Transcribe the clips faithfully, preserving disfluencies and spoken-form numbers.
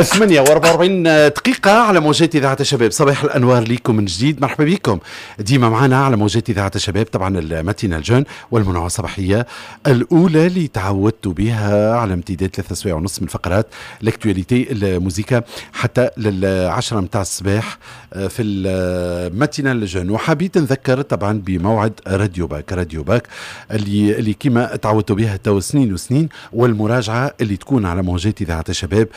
ثمانية وأربعة وأربعين دقيقة على موجات إذاعة الشباب. صباح الأنوار ليكم من جديد، مرحبا بكم ديما معنا على موجات إذاعة الشباب. طبعا ال matinale jeune والمنوعة الصباحية الأولى اللي تعودتوا بها على امتداد ثلاثة سوايع ونص من فقرات l'actualité، الموزيكا، حتى للعشرة متاع الصباح آه، في ال matinale jeune. وحبيت نذكر طبعا بموعد راديو باك، راديو باك اللي اللي كما تعودتوا بها تو سنين وسنين، والمراجعة اللي تكون على موجات إذاعة الشباب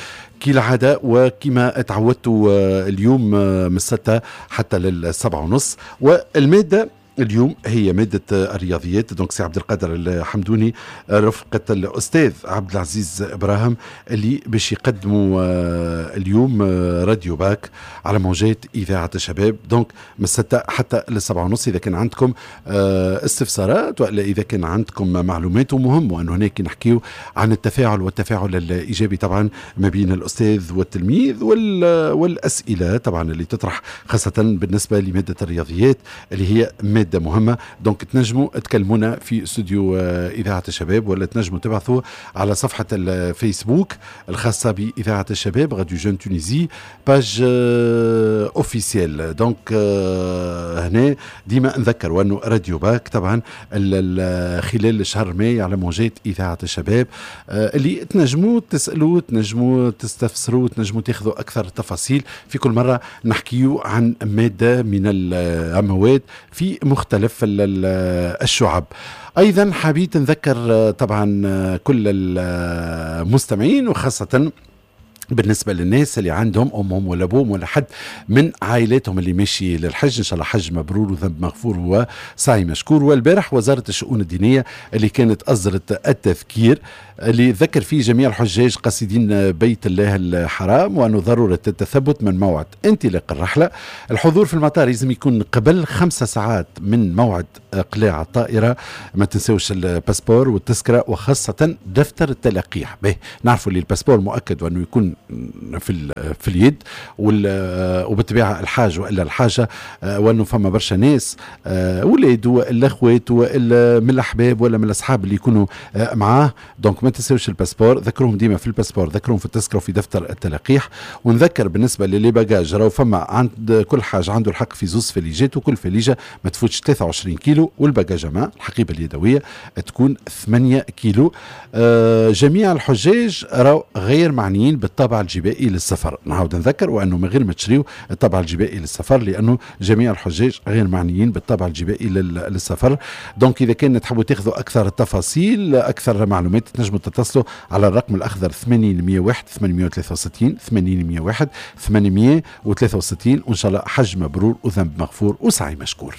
كالعادة وكما تعودتوا آه، اليوم آه، من الستة حتى للسبعة ونص. والمادة اليوم هي مادة الرياضيات. donc سي عبد القادر الحمدوني رفقة الأستاذ عبد العزيز إبراهيم اللي باش يقدموا آه، اليوم راديو باك على موجات إذاعة الشباب، donc من الستة حتى للسبعة ونص. إذا كان عندكم استفسارات ولا إذا كان عندكم معلومات، ومهم وأنه هناك نحكيو عن التفاعل والتفاعل الإيجابي طبعا ما بين الأستاذ والتلميذ والأسئلة طبعا اللي تطرح، خاصة بالنسبة لمادة الرياضيات اللي هي مادة مهمة. donc تنجموا تكلمونا في استوديو آه، إذاعة الشباب، ولا تنجموا تبعثوا على صفحة الفيسبوك الخاصة بإذاعة الشباب، Radio Jeunes Tunisie، page officielle. donc هنا ديما نذكر وانه راديو باك طبعا خلال شهر ماي على موجات إذاعة الشباب، آه، اللي تنجموا تسألوا، تنجموا تستفسروا، تنجموا تاخذوا أكثر تفاصيل. في كل مرة نحكيو عن مادة من المواد في مختلف الشعب. ايضا حبيت نذكر طبعا كل المستمعين، وخاصة بالنسبة للناس اللي عندهم أمهم ولا أبوهم ولا حد من عائلاتهم اللي ماشي للحج، إن شاء الله حج مبرور وذنب مغفور وسعي مشكور. والبارح وزارة الشؤون الدينية اللي كانت أصدرت التذكير اللي ذكر فيه جميع الحجاج قاصدين بيت الله الحرام وأنه ضرورة التثبت من موعد انطلاق الرحلة. الحضور في المطار لازم يكون قبل خمسة ساعات من موعد إقلاع الطائرة. ما تنسوش ال passeport والتذكرة وخاصة دفتر التلقيح به. نعرفوا اللي ال passeport مؤكد وأنه يكون في في اليد، وبالطبيعة الحاج والا الحاجة، آه، وانه فما برشا ناس، آه، ولاد والا اخوات والا من الاحباب ولا من الاصحاب اللي يكونوا آه، معاه. donc ما تنساوش ال passeport، ذكروهم ديما في ال passeport، ذكروهم في التذكرة وفي دفتر التلقيح. ونذكر بالنسبة ل les bagages، راهو فما عند كل حاج عنده الحق في زوز فليجات، وكل فليجه ما تفوتش ثلاثة وعشرين كيلو، وال bagage à main، الحقيبة اليدويه، تكون ثمانية كيلو. آه جميع الحجاج راهو غير معنيين بالطابع الجبائي للسفر. نعاود نذكر وانه من غير ما تشريو الطابع الجبائي للسفر، لانه جميع الحجاج غير معنيين بالطابع الجبائي للسفر. donc اذا كان تحبوا تاخذوا اكثر التفاصيل، اكثر معلومات، تنجموا تتصلوا على الرقم الاخضر ثمانين مية وواحد ثمانمية وثلاثة وستين، ثمانين مية وواحد ثمانمية وثلاثة وستين. وان شاء الله حج مبرور وذنب مغفور وسعي مشكور.